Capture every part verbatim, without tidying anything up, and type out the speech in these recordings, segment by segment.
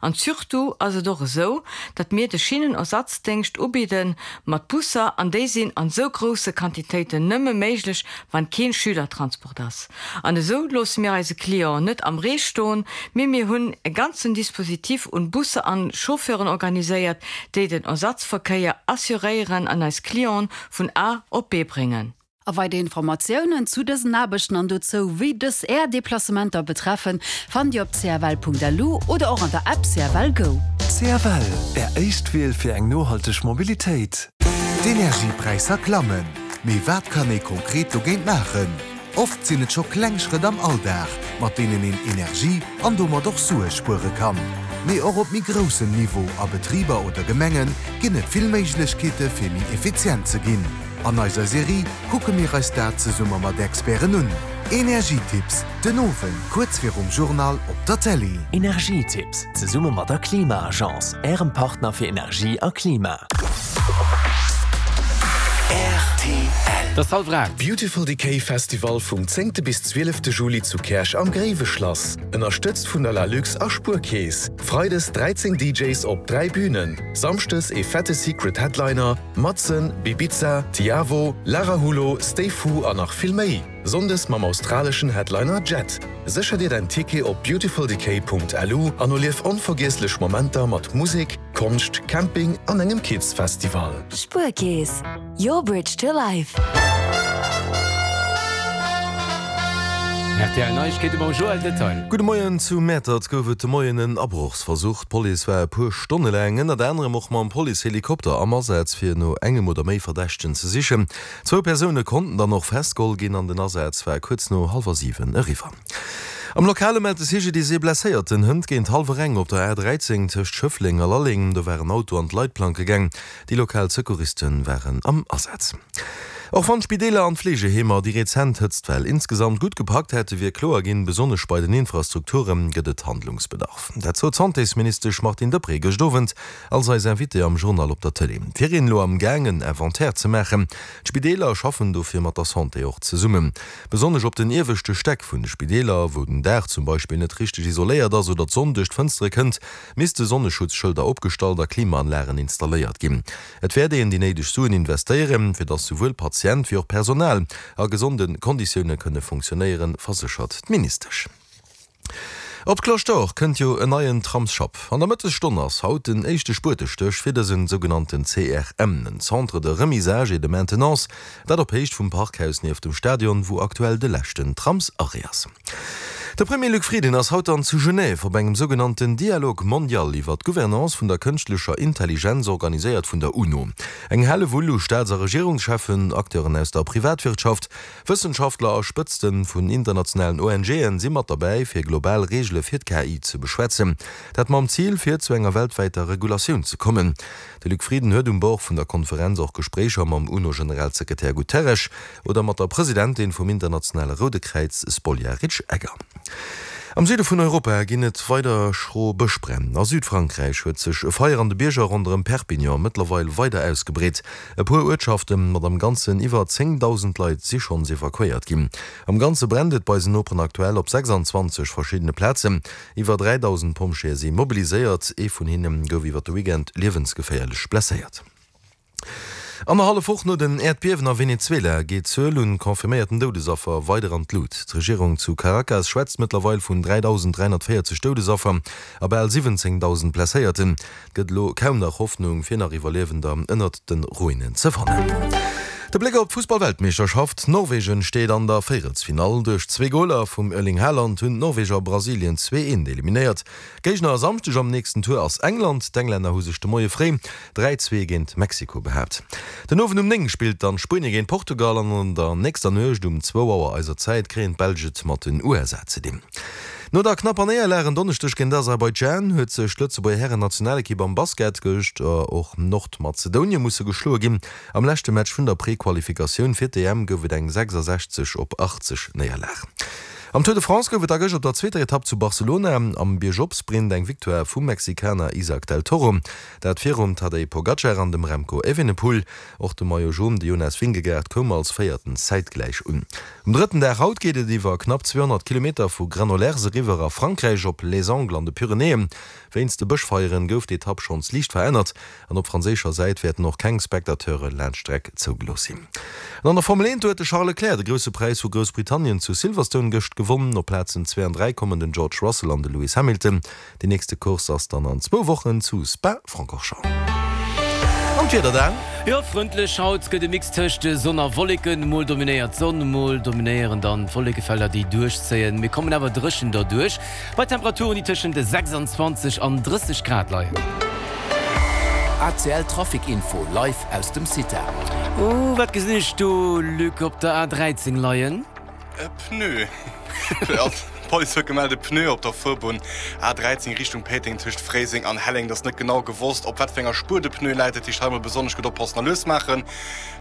An surtout ass et och esou, datt mir de Schinnenersatzdéngscht ubidde mat Busser, an déi sinn an esou grousse Quantitéiten nëmme méiglech, wann keen Schülertransport ass. An esou loosse mir eise Clienten net am Ree stoen, mee mir hunn e ganzen Dispositif un Busser an Chauffeuren organiséiert, déi den Ersatzverkéier assuréieren an eis Clienten vun A op B bréngen. A weider Informatiounen zu dësen Aarbechten an dozou, wéi dës Är Deplacementer betreffen, fannt Dir op cfl.lu oder och an der App C F L Go. C F L, Är éischt Wiel fir eng nohalteg Mobilitéit. D'Energiepräisser klammen. Mee wat kann ee konkret dogéint maachen? Oft sinn et scho kleng Schrëtt am Alldag, mat deenen een Energie an domat och Sue spuere kann. Mee och op méi groussem Niveau, a Betriber oder Gemenge ginn et vill Méiglechkeete fir méi effizient ze ginn. An eiser Serie kucke mir eis dat zesumme mat Experten un. Energietipps, den Owend kuerz virum Journal op der Tëlee. Energietipps, zesumme mat der Klima-Agence, Ärem Partner fir Energie a Klima. R T L. Et ass hallwer aacht. Beautiful Decay Festival vum zéngte bis zwielefte Juli zu Käerch am Gréiweschlass. Ënnerstëtzt vun der Lalux a Spuerkeess. Freides dräizéng D Js op dräi Bünen. Samschdes e fette Secret Headliner, Matzen, Bibiza, Tiavo, Lara Hulo, Stay Fu an nach vill méi. Sonndes mam australeschen Headliner Jet. Sécher dir däin Ticket op beautifuldecay Punkt L U an erlief onvergiesslech Momenter mat Musek, Konscht, Camping an engem Kids Festival. Spuerkeess, your bridge to life. R T L Neiegkeete mam Joël Detail. Gudde Moien, zu Mäertert gouf et de Moien en Abrochsversuch. D'Police war e puer Stonne laang ënnert anerem och mam Policehelikopter am Asaz fir no engem oder méi Verdächtegen ze sichen. Zwou Persoune konnten dann och festgeholl ginn an den Asaz war kuerz no hallwer siwen eriwwer. Am Lokale mellt de C G D I S ee Blesséierten hënt géint hallwer eng op der A dräizéng tëscht Schëffleng a Lalleng. Do war en Auto an d'Leitplanke gaang. Déi lokal Secouriste waren am Asaz. Och wann d'Spideeler an d'Fleegeheemer déi rezent Hëtztwell insgesamt gutt gepackt hätte wier kloer ginn, besonnesch bei den Infrastrukture gëtt et Handlungsbedarf. Dat sot d'Santésministesch Martine Deprez gëscht Owend als eis Invitée am Journal op der Tëlee. Et wier een elo am Gaang en Inventaire ze maachen. D'Spideeler schaffen dofir mat der Santé och zesummen. Besonnesch op den ieweschte Stäck vun de Spideeler, wou den Daach zum Beispill net richteg isoléiert ass oder d'Sonn duerch d'Fënstere kënnt, misste Sonneschutzschëlder opgestallt a Klimaanlagen installéiert ginn. Et wäert een déi néideg Suen investéieren, fir datt souwuel Patient wéi och Personal a gesonde Konditioune kënne funktionéieren, verséchert d'Ministesch. Op d'Cloche d'Or kënnt jo en neien Tramsschapp. An der Mëttesstonn ass haut den éischte Spuetestéch fir dësen sougenannten C R M, en Centre de remisage et de maintenance, dat op Héicht vum Parkhaus nieft dem Stadion, wou aktuell de leschten Tramsarrêt ass. De Premier Luc Frieden ass haut dann zu Genève op engem sougenannten Dialogue mondial iwwer d'Gouvernance vun der kënschtlecher Intelligenz, organiséiert vun der UNO. Eng Hellewull u Staats a Regierungscheffen, Acteuren aus der Privatwirtschaft, Wëssenschaftler a Spëtzte vun internationalen O N Gen si mat derbäi fir global Reegele fir d'K I ze beschwätzen. Dat mam Zil fir zu enger weltwäiter Regulatioun ze kommen. De Luc Frieden huet um Bord vun der Konferenz och Gespréicher mam UNO-Generalsekretär Guterres oder mat der Presidentin vum internationale Roude Kräiz Spoljaric Egger. Am Süde vun Europa ginn et weider schro Bëschbränn. A Südfrankräich huet sech e Feier an de Bierger ronderëm Perpignan mëttlerweil weider ausgebreet. E puer Uertschafte mat am Ganzen iwwer zéngdausend Leit si schonns evakuéiert ginn. Am Ganze brennt et bei eisen Noperen aktuell op sechsanzwanzeg verschiddene Plazen. Iwwer dräidausend Pompjeeë si mobiliséiert, ee vun hinne gouf iwwer de Weekend liewensgeféierlech blesséiert. Annerhallef Woch no den Äerdbiewen a Venezuela geet d'Zuel un confirméierten Doudesaffer weider an d'Lut. D'Regierung zu Caracas schwätzt mëttlerweil vun dräidausend dräihonnertvéierzeg Doudesaffer a bal siwwenzéngdausend Blesséierten. Et gëtt elo kaum nach Hoffnung, fir nach Iwwerliewender ënnert de Ruinen ze fannen. De Bléck op d'Fussballweltmeeschterschaft, Norwegen steet an der Véierelsfinall. Duerch zwee Goler vum Erling Haaland hunn d'Norweger Brasilien zwee eent eliminéiert. Géigner e Samschdeg am nächsten Tour ass England. D'Englänner hu sech de Moie fréi dräi zwee géint Mexiko behaapt. Den Owend um néng spillt dann Spuenie géint Portugal an an der nächster Nuecht um zwou Auer eiser Zäit kréien d'Belsch et mat den U S A ze dinn. No der knapper Néierlag en Donneschdeg géint Aserbaidschan huet sech d'Lëtzebuerger Hären-Nationalekipp am Basket gëscht och Nordmazedonie musse geschloe ginn. Am leschte Match vun der Prequalifikatioun fir d'E M gouf et eng sechsasechzeg op achtzeg Néierlag. Am Tour de France gouf et da gëscht op der zweeter Etapp zu Barcelona am Biergop-Sprint eng Victoire vum Mexikaner Isaac del Toro. Dat virum Tadej Pogacar an dem Remco Evenepoel. Och de Maillot Jaune, de Jonas Vingegaard, koum als Véierten zäitgläich un. Um drëtten Dag haut geet et iwwer knapp zweehonnert Kilometer vu Granollers eriwwer a Frankräich op Les Angles an de Pyrenäen. Wéinst de Bëschfeieren gouf d'Etapp schonns liicht verännert an op franséischer Säit wäerten och keng Spectateure laanscht d'Streck zougelooss sinn. An an der Formel eent huet de Charles Leclerc de Grousse Präis vu Groussbritannien zu Silverstone gëscht gewonn. Op Plazen zwee an dräi kommen den George Russell an de Lewis Hamilton. Déi nächste Course ass dann an zwou Wochen zu Spa-Francorchamps. An d'Wieder dann? Jo, frëndlech haut, gëtt e Mix tëscht Sonn a Wolleken. Mol dominéiert d'Sonn, mol dominéieren dann d'Wollekefelder, déi duerchzéien. Mir kommen awer dréchen derduerch, bei Temperaturen, déi tëschent sechsundzwanzeg an drësseg Grad leien. A C L Trafic Info live aus dem CITA. Oh, wat gesinn ech do, Luc, op der A dräizéng leien? E Pneu. D'Police huet gemellt, e Pneu op der Fuerbunn A dräizéng Richtung Péiteng tëscht Fréiseng an Helleng. Et ass net genau gewosst, op wat fir enger Spuer de Pneu läit. Dat heescht, hei mol besonnesch gutt oppassen a lues maachen.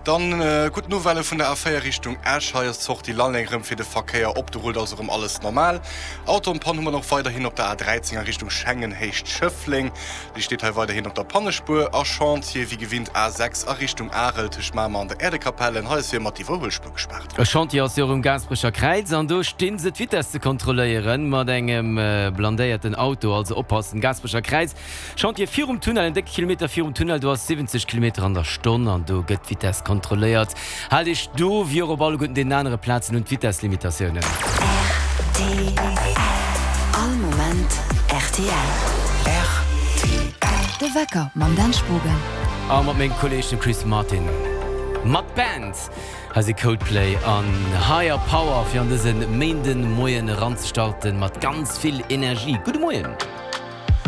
Dann gutt Nouvellë vun der A véier Richtung Esch. Hei ass d'Sortie Lalleng erëm fir de Verkéier op. Do rullt also erëm alles normal. Auto en panne hu mer och weiderhin op der A dräizéng a Richtung Schengen Héicht Schëffleng. Déi steet hei weiderhin op der Pannespuer. A Chantier wéi gewinnt A sechs a Richtung Arel tëscht Mamer an der Äerdekapelle. Hei ass fir ëmmer d'Iwwerhuelspuer gespaart. E Chantier ass jo och um Gaasperecher Kräiz an do sti se d'Vitess ze kontrolléieren mat engem blindéierten Auto. Also oppassen, Gaasperecher Kräiz, Chantier virum Tunnel, en décke Kilometer virum Tunnel, do ass siwwenzeg Kilometer an der Stonn an do gëtt d'Vitess kontrolléiert. Haalt iech do wéi och op alleguerten deenen anere Plazen un d'Vitesslimitatiounen. Rtl, All Moment rtl. Rtl. De Wecker mam Dan Spogen. A mat mengem Kolleeg dem Chris Martin. Mat Band! Hei si Coldplay an Higher Power fir an dëse Méinden Moien eranzestarten mat ganz vill Energie. Gudde Moien!